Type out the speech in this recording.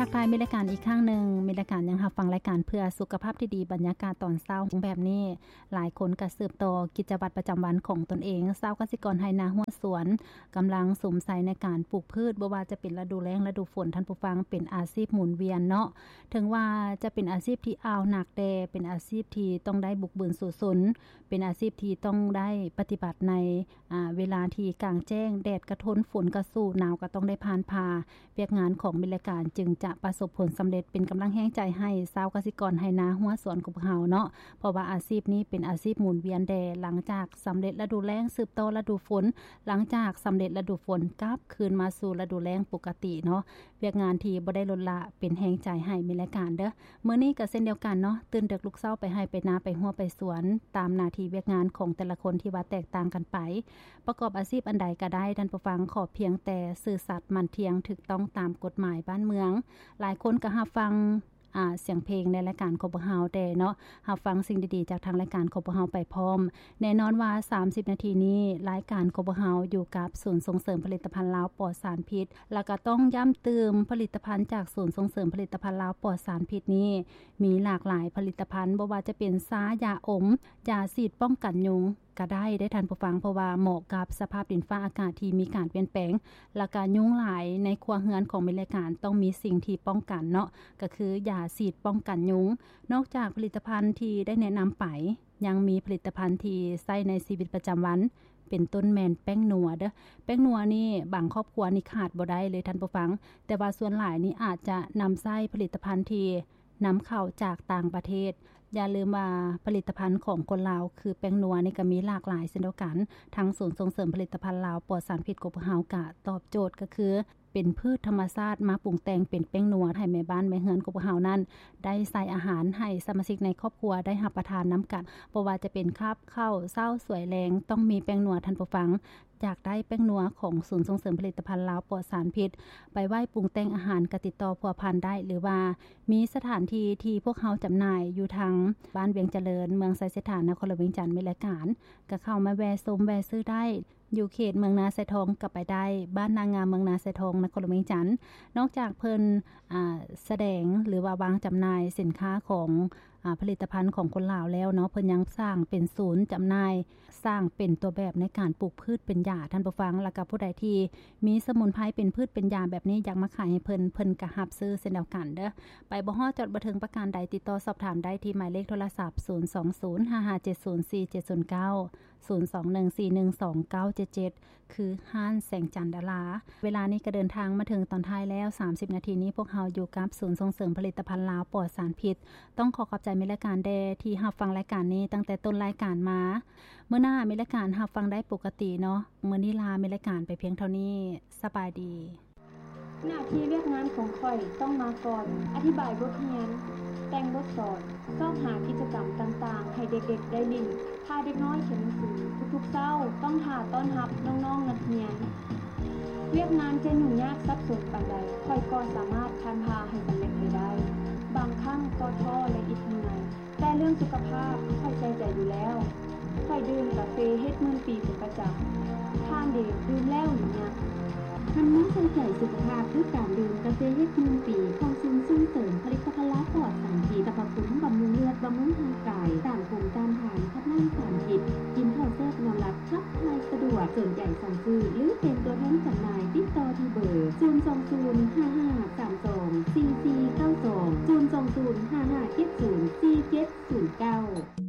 ທັກທາຍມິດລາຍການອີກຄັ້ງໜຶ່ງ, ມິດລາຍການຍັງຮັບຟັງລາຍການເພື່ອສຸຂະພາບທີ່ດີ, ບັນຍາກາດຕອນເຊົ້າແບບນີ້, ຫຼາຍຄົນກໍສືບຕໍ່ກິດຈະວັດປະຈຳວັນຂອງຕົນເອງ. ຊາວກະສິກອນໄຮ່ນາຮົ້ວສວນ ກຳລັງສຸມໃສ່ໃນການປູກພືດ, ບໍ່ວ່າຈະເປັນລະດູແລ້ງ, ລະດູຝົນ, ທ່ານຜູ້ຟັງ, ເປັນອາຊີບໝູນວຽນເນາະ. ເຖິງວ່າຈະເປັນອາຊີບທີ່ອ່າວໜັກ, ແຕ່ເປັນອາຊີບທີ່ຕ້ອງໄດ້ບຸກບືນສູ້ຊົນ, ເປັນອາຊີບທີ່ຕ້ອງໄດ້ປະຕິບັດໃນ ອາ ເວລາທີ່ກາງແຈ້ງ, ແດດກະທົນ, ຝົນກະສູ້, ໜາວກະຕ້ອງໄດ້ຜ່ານຜ່າ. ວຽກງານຂອງມິດລາຍການຈຶ່ງຈະປະສົບຜົນສຳເລັດ, ເປັນກຳລັງແຮງໃຈໃຫ້ຊາວກະສິກອນໄຮ່ນາຮົ້ວສວນຂອງພວກເຮົາເນາະ, ເພາະວ່າອາຊີບນີ້ເປັນອາຊີບໝູນວຽນແດ່. ຫຼັງຈາກສຳເລັດລະດູແລ້ງ, ສືບຕໍ່ລະດູຝົນ, ຫຼັງຈາກສຳເລັດລະດູຝົນ, ກັບຄືນມາສູ່ລະດູແລ້ງປົກກະຕິເນາະ. ວຽກງານທີ່ບໍ່ໄດ້ລົດລະ ເປັນແຮງໃຈໃຫ້ມິດລາຍການເດີ້. ມື້ນີ້ກໍເຊັ່ນດຽວກັນເນາະ, ຕື່ນເດິກລຸກເຊົ້າ, ໄປໄຮ່ໄປນາ, ໄປຮົ້ວໄປສວນ, ຕາມໜ້າທີ່ວຽກງານຂອງແຕ່ລະຄົນທີ່ວ່າແຕກຕ່າງກັນໄປ. ປະກອບອາຊີບອັນໃດກໍໄດ້, ທ່ານຜູ້ຟັງ, ຂໍພຽງແຕ່ຊື່ສັດ, ໝັ້ນທ່ຽງ, ຖືກຕ້ອງຕາມກົດໝາຍບ້ານເມືອງ. ຫຼາຍຄົນກໍຮັບຟັງ ອາ ສຽງເພງໃນລາຍການຂອງພວກເຮົາແດ່ເນາະ, ຮັບຟັງສິ່ງດີໆຈາກທາງລາຍການຂອງພວກເຮົາໄປພ້ອມ. ແນ່ນອນວ່າສາມສິບນາທີນີ້, ລາຍການຂອງພວກເຮົາຢູ່ກັບສູນສົ່ງເສີມຜະລິດຕະພັນລາວປອດສານພິດ, ແລ້ວກໍຕ້ອງຢ້ຳຕື່ມ, ຜະລິດຕະພັນຈາກສູນສົ່ງເສີມຜະລິດຕະພັນລາວປອດສານພິດນີ້ ມີຫຼາກຫຼາຍຜະລິດຕະພັນ, ບໍ່ວ່າຈະເປັນຊາ, ຢາອົມ, ຢາສີດປ້ອງກັນຍຸງ ກໍໄດ້ເດ້ທ່ານຜູ້ຟັງ, ເພາະວ່າເໝາະກັບສະພາບດິນຟ້າອາກາດທີ່ມີການປ່ຽນແປງ, ແລ້ວກະຍຸງຫຼາຍໃນຄົວເຮືອນຂອງມິດລາຍການ, ຕ້ອງມີສິ່ງທີ່ປ້ອງກັນເນາະ, ກໍຄືຢາສີດປ້ອງກັນຍຸງ. ນອກຈາກຜະລິດຕະພັນທີ່ໄດ້ແນະນຳໄປ, ຍັງມີຜະລິດຕະພັນທີ່ໃຊ້ໃນຊີວິດປະຈຳວັນ, ເປັນຕົ້ນແມ່ນແປ້ງນົວເດີ້. ແປ້ງນົວນີ້ບາງຄອບຄົວນີ້ຂາດບໍ່ໄດ້ເລີຍທ່ານຜູ້ຟັງ, ແຕ່ວ່າສ່ວນຫຼາຍນີ້ອາດຈະນຳໃຊ້ຜະລິດຕະພັນທີ່ ນຳເຂົ້າຈາກຕ່າງປະເທດ. ຢ່າລືມວ່າຜະລິດຕະພັນຂອງຄົນລາວຄືແປ້ງນົວນີ້ກໍມີຫຼາກຫຼາຍເຊັ່ນດຽວກັນ. ທາງສູນສົ່ງເສີມຜະລິດຕະພັນລາວປອດສານພິດຂອງພວກເຮົາກະຕອບໂຈດ ກໍຄືເປັນພືດທຳມະຊາດມາປຸງແຕ່ງເປັນແປ້ງນົວ ໃຫ້ແມ່ບ້ານແມ່ເຮືອນຂອງພວກເຮົານັ້ນໄດ້ໃສ່ອາຫານໃຫ້ສະມາຊິກໃນຄອບຄົວໄດ້ຮັບປະທານນຳກັນ. ບໍ່ວ່າຈະເປັນຄາບເຊົ້າ, ເຊົ້າ, ສວຍ, ແລງ ຕ້ອງມີແປ້ງນົວທ່ານຜູ້ຟັງ. ຢາກໄດ້ແປ້ງນົວຂອງສູນສົ່ງເສີມຜະລິດຕະພັນລາວປອດສານພິດ ໄປໄວ້ປຸງແຕ່ງອາຫານ ກໍຕິດຕໍ່ພົວພັນໄດ້ ຫຼືວ່າມີສະຖານທີ່ທີ່ພວກເຮົາຈຳໜ່າຍຢູ່ທາງບ້ານວຽງຈະເລີນ ເມືອງໄຊເສດຖາ ນະຄອນຫຼວງວຽງຈັນ ມີລາຍການ ກໍເຂົ້າມາແວ່ຊົມແວ່ຊື້ໄດ້. ຢູ່ເຂດເມືອງນາຊາຍທອງກໍໄປໄດ້ ບ້ານນາງາມ ເມືອງນາຊາຍທອງ ນະຄອນຫຼວງວຽງຈັນ. ນອກຈາກເພິ່ນ ອາ ສະແດງ ຫຼືວ່າວາງຈຳໜ່າຍສິນຄ້າຂອງ ອາ ຜະລິດຕະພັນຂອງຄົນລາວແລ້ວເນາະ ເພິ່ນຍັງສ້າງເປັນສູນຈຳໜ່າຍ ສ້າງເປັນຕົວແບບໃນການປູກພືດເປັນຢາ ທ່ານຜູ້ຟັງ. ແລ້ວກໍຜູ້ໃດທີ່ມີສະໝຸນໄພເປັນພືດເປັນຢາແບບນີ້ ຢາກມາຂາຍໃຫ້ເພິ່ນ ເພິ່ນກໍຮັບຊື້ເຊັ່ນດຽວກັນເດີ້. ໄປບໍ່ຮອດ ຈອດບໍ່ເຖິງປະການໃດ ຕິດຕໍ່ສອບຖາມໄດ້ທີ່ໝາຍເລກໂທລະສັບ ສູນສອງສູນ ຫ້າຫ້າເຈັດສູນ ສີ່ເຈັດສູນເກົ້າ ສູນສອງໜຶ່ງສີ່ໜຶ່ງສອງເກົ້າເຈັດເຈັດ ຄືຮ້ານແສງຈັນດາລາ. ເວລານີ້ກໍເດີນທາງມາເຖິງຕອນທ້າຍແລ້ວ ສາມສິບນາທີນີ້ພວກເຮົາຢູ່ກັບສູນສົ່ງເສີມຜະລິດຕະພັນລາວປອດສານພິດ. ຕ້ອງຂໍຂອບໃຈມິດລາຍການແດ່ທີ່ຮັບຟັງລາຍການນີ້ຕັ້ງແຕ່ຕົ້ນລາຍການມາ. ມື້ໜ້າມິດລາຍການຮັບຟັງໄດ້ປົກກະຕິເນາະ. ມື້ນີ້ລາມິດລາຍການໄປພຽງເທົ່ານີ້. ສະບາຍດີ. ໜ້າທີ່ວຽກງານຂອງຂ້ອຍຕ້ອງມາກ່ອນ, ອະທິບາຍບົດຮຽນ, ແຕ່ງບົດສອນ, ຊອກຫາກິດຈະກຳຕ່າງໆໃຫ້ເດັກໆໄດ້ຫຼິ້ນ, ພາເດັກນ້ອຍຂຽນໜັງສື. ທຸກໆເຊົ້າຕ້ອງຖ້າຕ້ອນຮັບນ້ອງໆນັກຮຽນ. ວຽກງານຈະຫຍຸ້ງຍາກສັບສົນປານໃດ, ຂ້ອຍກໍສາມາດຜ່ານຜ່າໃຫ້ສຳເລັດໄປໄດ້. ບາງຄັ້ງກໍທໍ້ ແລະ ອິດເມື່ອຍ. ແຕ່ເລື່ອງສຸຂະພາບຂ້ອຍໃສ່ໃຈຢູ່ແລ້ວ. ຂ້ອຍດື່ມກາເຟເຮັດໝື່ນປີເປັນປະຈຳ. ທ່ານເດ ດື່ມແລ້ວຫຼືຍັງ? ຫັນມາໃສ່ໃຈສຸຂະພາບດ້ວຍການດື່ມກາເຟເຮັດໝື່ນປີຂອງສູນສົ່ງເສີມຜະລິດຕະພັນລາວປອດສານພິດ, ສັບພະຄຸນບຳລຸງເລືອດ, ບຳລຸງຮ່າງກາຍ, ຕ້ານພູມຕ້ານທານ, ຂັບລ້າງສານພິດ, ກິນເຂົ້າແຊບນອນຫຼັບ, ຂັບຖ່າຍສະດວກ. ສົນໃຈສັ່ງຊື້ ຫຼື ເປັນຕົວແທນຈຳໜ່າຍ, ຕິດຕໍ່ທີ່ເບີ ສູນສອງສູນ ຫ້າຫ້າສາມສອງ ສີ່ສີ່ເກົ້າສອງ ສູນສອງສູນ ຫ້າຫ້າເຈັດສູນ ສີ່ເຈັດສູນເກົ້າ.